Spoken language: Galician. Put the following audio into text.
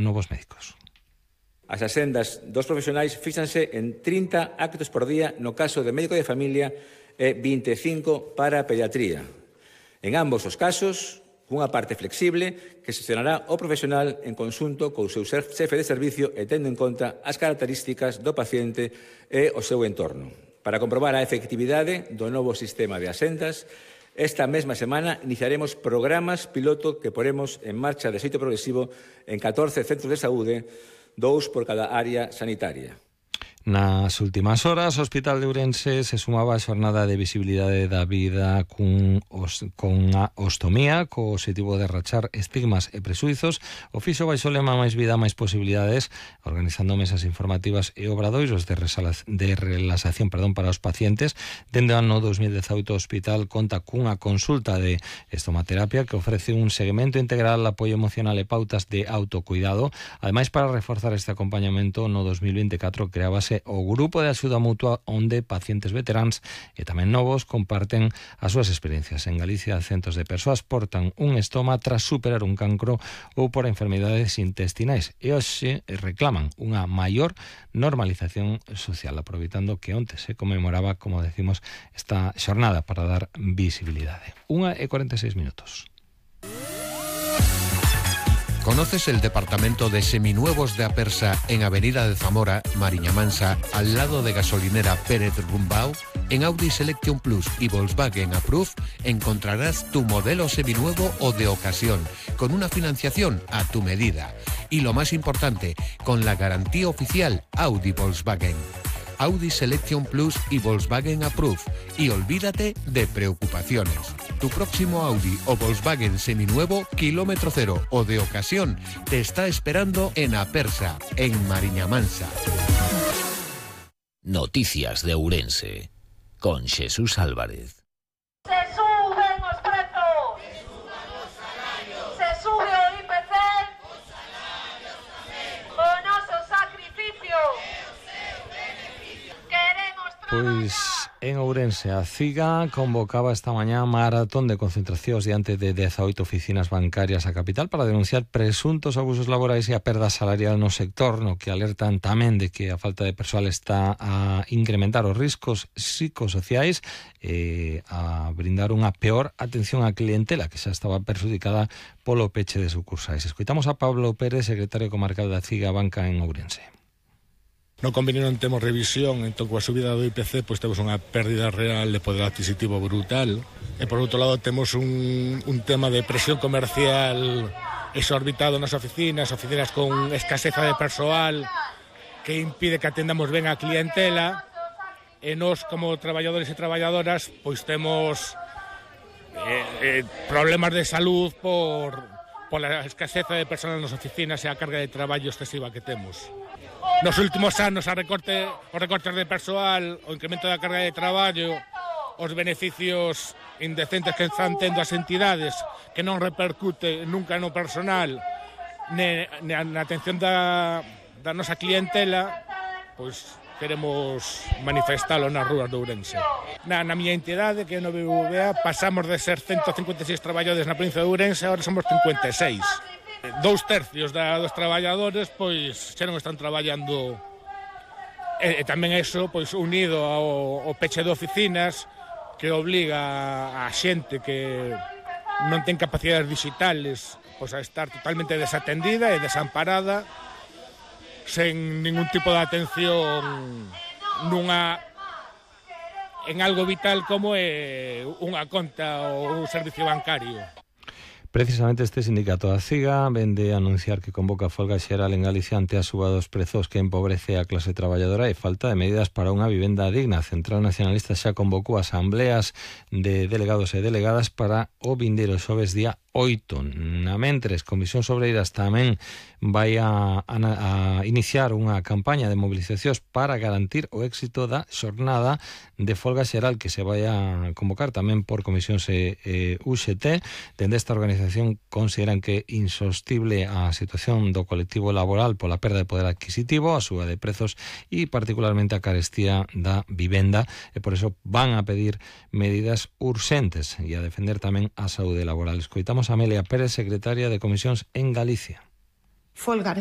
novos médicos. As axendas dos profesionais fíxanse en 30 actos por día no caso de médico de familia e 25 para pediatría. En ambos os casos, cunha parte flexible que xestionará o profesional en conxunto co seu xefe de servicio e tendo en conta as características do paciente e o seu entorno. Para comprobar a efectividade do novo sistema de axendas, esta mesma semana iniciaremos programas piloto que poremos en marcha de xeito progresivo en 14 centros de saúde, 2 por cada área sanitaria. Nas últimas horas, o Hospital de Ourense se sumaba a xornada de visibilidade da vida con a ostomía, co objetivo de rachar estigmas e presuizos. O fixo baixo lema máis vida, máis posibilidades, organizando mesas informativas e obradoiros de relaxación para os pacientes. Dende o ano 2018, o hospital conta cunha consulta de estomaterapia que ofrece un seguimento integral, apoio emocional e pautas de autocuidado. Ademais, para reforzar este acompañamento, no 2024 creábase o grupo de axuda mutua onde pacientes veteráns e tamén novos comparten as súas experiencias. En Galicia, centos de persoas portan un estoma tras superar un cancro ou por enfermedades intestinais e hoxe reclaman unha maior normalización social, aproveitando que onte se conmemoraba, como decimos, esta xornada para dar visibilidade. 1:46 minutos. ¿Conoces el departamento de seminuevos de Apersa en Avenida de Zamora, Mariña Mansa, al lado de gasolinera Pérez Rumbau? En Audi Selection Plus y Volkswagen Approve encontrarás tu modelo seminuevo o de ocasión, con una financiación a tu medida. Y lo más importante, con la garantía oficial Audi Volkswagen. Audi Selection Plus y Volkswagen Approve. Y olvídate de preocupaciones. Tu próximo Audi o Volkswagen seminuevo, kilómetro cero o de ocasión, te está esperando en Apersa, en Mariña Mansa. Noticias de Ourense, con Jesús Álvarez. Se suben os prezos. Se sube o IPC. O noso sacrificio. Queremos Pois en Ourense, a CIGA convocaba esta mañá maratón de concentracións diante de 18 oficinas bancarias a capital para denunciar presuntos abusos laborais e a perda salarial no sector, no que alertan tamén de que a falta de persoal está a incrementar os riscos psicosociais e a brindar unha peor atención á clientela que xa estaba perxudicada polo peche de sucursais. Escoitamos a Pablo Pérez, secretario comarcal da CIGA Banca en Ourense. No convenio non temos revisión, entón coa subida do IPC pois temos unha pérdida real de poder adquisitivo brutal e por outro lado temos un tema de presión comercial exorbitado nas oficinas con escaseza de persoal que impide que atendamos ben a clientela e nós como traballadores e traballadoras pois temos problemas de salud pola escaseza de persoal nas oficinas e a carga de traballo excesiva que temos. Nos últimos anos os recortes de persoal, o incremento da carga de traballo, os beneficios indecentes que están tendo as entidades que non repercute nunca no personal na atención da nosa clientela, pois queremos manifestalo nas rúas de Ourense. Na miña entidade, que é no BBVA, pasamos de ser 156 traballadores na provincia de Ourense, agora somos 56. 2/3 dos traballadores pois xa non están traballando e tamén eso pois unido ao peche de oficinas que obliga a xente que non ten capacidades digitales pois a estar totalmente desatendida e desamparada sen ningún tipo de atención en algo vital como é unha conta ou un servicio bancario. Precisamente este sindicato da CIGA vende a anunciar que convoca folga xeral en Galicia ante a suba dos prezos que empobrece a clase traballadora e falta de medidas para unha vivenda digna. A Central Nacionalista xa convocou asambleas de delegados e delegadas para o vindeiro xoves día 8. Na mentres, Comisións Obreiras tamén vai a iniciar unha campaña de movilizacións para garantir o éxito da xornada de folga xeral que se vai a convocar tamén por Comisións UGT. Dende esta organización consideran que é insostible a situación do colectivo laboral pola perda de poder adquisitivo, a suba de prezos e particularmente a carestía da vivenda e por eso van a pedir medidas urxentes e a defender tamén a saúde laboral. Escoitamos a Amelia Pérez, secretaria de Comisións en Galicia. folgar